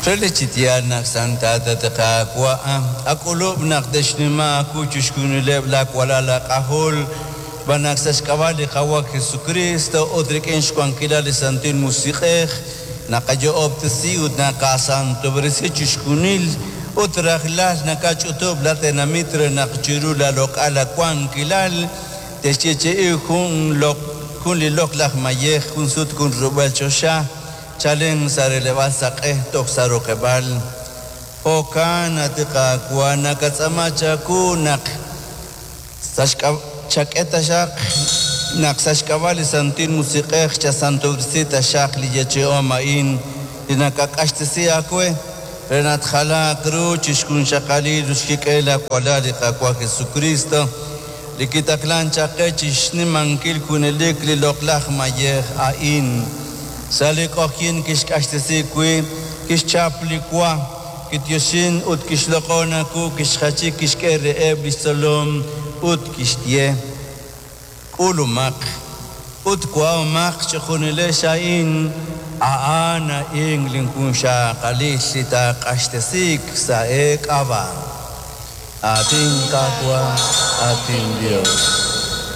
Relik chi yaal naq santat, at Qaawa', ak'ulub' naq te'xnima aawu chixjunileb' laawalal aak'ajol, xb'aan naq sa' xk'ab'a' li Qaawa' Jesukriist ut rik'in xwankilal li Santil Musiq'ej naqayo'ob'tesi ut naqasantob'resi chixjunil ut rajlal nakach'utub' laatenamit re naq chiru laaloq'al aawankilal te'xyeechi'i jun jun li loq'laj mayej jun sut jun rub'el choxa chalen sa' releb'aal saq'e toj sa' roqeb'aal. Jo'kan, at Qaawa', nakatz'aama chawu naq sa' chak'e taxaq naq sa' xk'ab'a' li Santil Musiq'ej chasantob'resi taxaq li yeechi'om a'in li nakaq'axtesi aawe re naq tjalaaq ru chixjunxaqalil ut xkik'el laawalal li Qaawa' Jesucristo li kitaqlank chaq qe chixnimankil junelik li loq'laj mayej a'in. Sa' li q'oqyink kixq'axtesi wi' kixchap li wa, kityoxin ut kixloq'on aawu, kixjachi, kixk'e reheb' li xtzolom ut kixye: K'ulumaq ut wa'omaq chejunilex a'in, a'an a'in linjunxaqalil li taaq'axtesiik sa' eek'ab'a'. Aatin Qaawa', aatin Yos.